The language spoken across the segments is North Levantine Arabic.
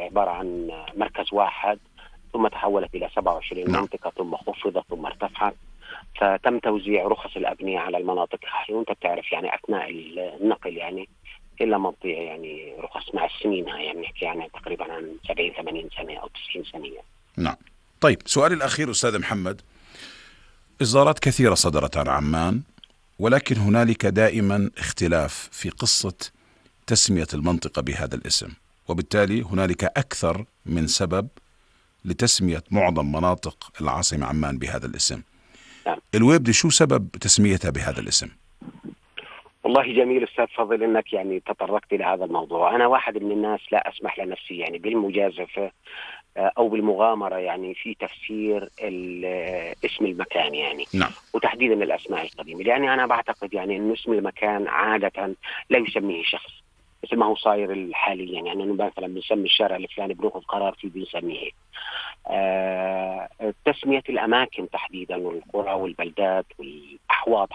عبارة عن مركز واحد، ثم تحولت إلى 27 منطقة، ثم خفضت ثم ارتفعت. فتم توزيع رخص الأبنية على المناطق هاي، وأنت بتعرف يعني أثناء النقل يعني إلا ما تضيع يعني رخص مع السنين هاي، يعني نحكي يعني تقريبا عن 70-80 سنة أو 90 سنة يعني. نعم. طيب سؤالي الأخير أستاذ محمد، إصدارات كثيرة صدرت عن عمان، ولكن هنالك دائما اختلاف في قصة تسمية المنطقة بهذا الاسم، وبالتالي هنالك أكثر من سبب لتسمية معظم مناطق العاصمة عمان بهذا الاسم. نعم. الويبدة شو سبب تسميتها بهذا الاسم؟ والله جميل أستاذ فضل إنك يعني تطرقت إلى هذا الموضوع. أنا واحد من الناس لا أسمح لنفسي يعني بالمجازفة أو بالمغامرة يعني في تفسير اسم المكان يعني. نعم. وتحديدا الأسماء القديمة، لأني أنا بعتقد يعني إنه اسم المكان عادة لا يسميه شخص مثل ما هو صاير حاليا، يعني إنه مثلا بنسمي الشارع الفلاني بناخذ قرار فيه بنسميه. تسمية الأماكن تحديدا والقرى والبلدات والأحواض،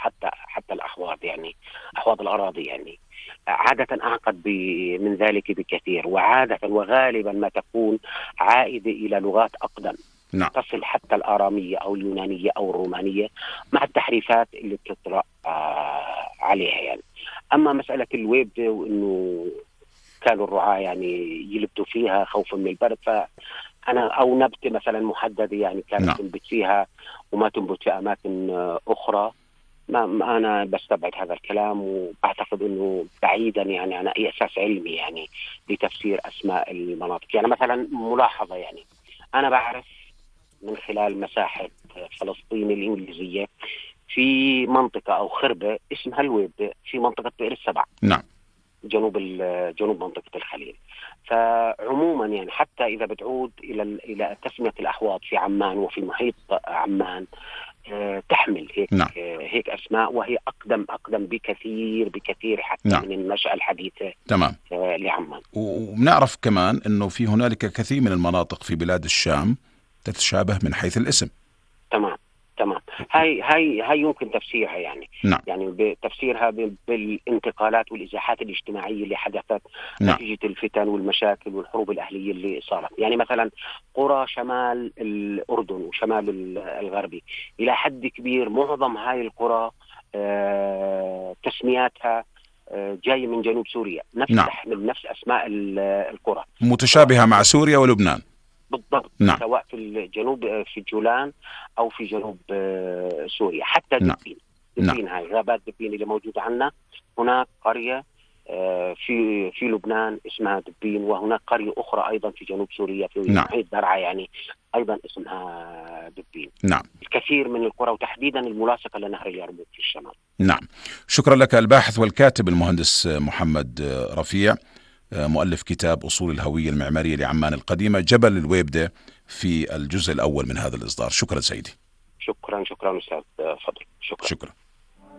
حتى الأحواض يعني أحواض الأراضي يعني عادة أعقد من ذلك بكثير، وعادة وغالبا ما تكون عائدة إلى لغات أقدم. نعم. تصل حتى الآرامية أو اليونانية أو الرومانية مع التحريفات اللي بتطرأ عليها يعني. أما مسألة الويبدة وإنه كانوا الرعاة يعني يلبدوا فيها خوفا من البرد، فأنا أو نبتة مثلا محددة يعني كانت نعم. تنبت فيها وما تنبت في أماكن أخرى، ما أنا بستبعد هذا الكلام، وأعتقد أنه بعيدا يعني عن أي أساس علمي يعني لتفسير أسماء المناطق. يعني مثلا ملاحظة، يعني أنا بعرف من خلال مساحة فلسطين الإنجليزية في منطقة أو خربة اسمها الويبدة في منطقة بئر السبع. نعم. جنوب منطقة الخليل. فعموما يعني حتى إذا بتعود إلى تسمية الأحواض في عمان وفي محيط عمان تحمل هيك. نعم. هيك أسماء، وهي أقدم بكثير حتى نعم. من النشأة الحديثة. تمام. لعمان. وبنعرف كمان أنه في هنالك كثير من المناطق في بلاد الشام تتشابه من حيث الاسم. تمام. هاي يمكن تفسيرها يعني. نعم. يعني بتفسيرها بالانتقالات والإزاحات الاجتماعية اللي حدثت نعم. نتيجة الفتن والمشاكل والحروب الأهلية اللي صارت. يعني مثلا قرى شمال الأردن وشمال الغربي إلى حد كبير معظم هاي القرى تسمياتها جاي من جنوب سوريا، نعم. تحمل نفس أسماء القرى، متشابهة مع سوريا ولبنان. بالضبط. نعم. سواء في الجنوب في جولان أو في جنوب سوريا. حتى نعم. دبين هاي غابات دبين اللي موجودة عنا، هناك قرية في لبنان اسمها دبين، وهناك قرية أخرى أيضا في جنوب سوريا في محيط درعا يعني أيضا اسمها دبين. نعم. الكثير من القرى وتحديدا الملاصقة لنهر اليرموك في الشمال. نعم. شكرا لك الباحث والكاتب المهندس محمد رفيع، مؤلف كتاب أصول الهوية المعمارية لعمان القديمة جبل الويبدة في الجزء الأول من هذا الإصدار. شكرا سيدي. شكرا أستاذ فضل. شكرا.